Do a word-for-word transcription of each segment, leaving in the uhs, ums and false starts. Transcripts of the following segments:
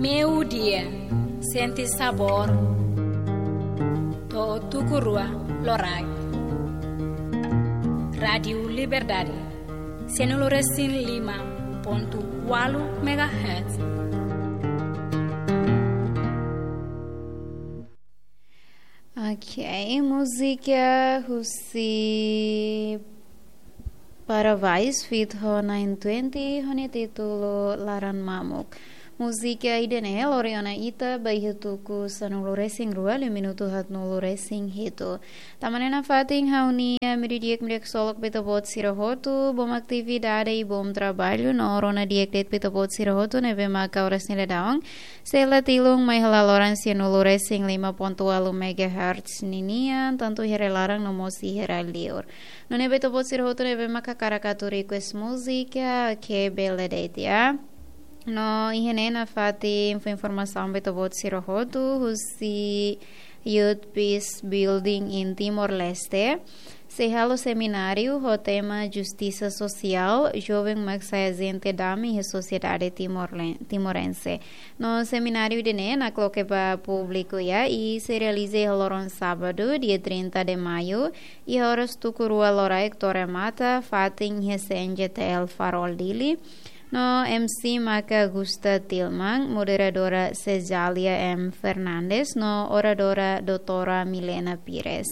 Meiudia, sente sabór. To'o tuku rua loraik. Rádiu Liberdade, sanulu-resin-lima pontu ualu megahertz. Ok, múzika husi Para Vice feat ho nine twenty, ho nia títulu Laran Mamuk. Múzika ida-ne'e lori ona ita ba iha tuku sanulu-resin-rua, liu minutu haatnulu-resin-hitu. Tanba ne'e nafatin ha'u-nia meiudia di'ak, meiudia ksolok ba ita-boot sira hotu, bom atividade i bom traballu, no rona di'ak de'it ba ita-boot sira hotu ne'ebé maka oras ne'e daudaun sei la tilun mai hela loron sanulu-resin-lima pontu ualu megahertz ninian, tantu iha rai-laran no mós iha rai-liur. Nune'e ba ita-boot sira hotu ne'ebé maka hakarak atu request múzika, ok, bele de'it, ya. No iha ne'e nafatin fó informasaun ba ita-boot sira hotu husi Youth Peace Building in Timor-Leste sei halo semináriu ho tema Justisa Sosiál, Joven mak sai Ajente Dame iha Sosiedade Timor-, Timorense. No semináriu ida-ne'e nakloke ba públiku, ya, i sei realiza iha loron sábadu, dia trinta de maio, iha oras tuku rua loraik to'o remata, fatin iha C N J T L Farol Dili. No M C maka Gusta Tilman, moderadora Cezalia M Fernandes, no oradora doutora Milena Pires.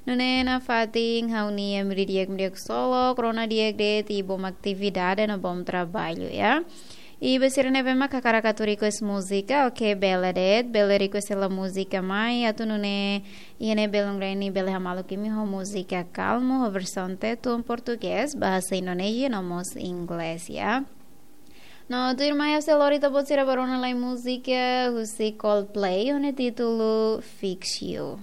Nune'e nafatin ha'u-nia meiudia di'ak, meiudia ksolok, rona di'ak de'it i bom atividade no bom traballu, ya. I ba sira ne'ebé maka hakarak atu request múzika, ok, bele de'it, bele request hela múzika mai, atu nune'e iha ne'e belun reni bele hamaluk imi ho múzika kalmu, ho versaun Tetun, Portugés, bahasa Indonézia no mós Inglés, ya. No tuirmai ha'u sei lori ita-boot sira ba rona lai múzika husi Coldplay, ho nia títulu Fix You.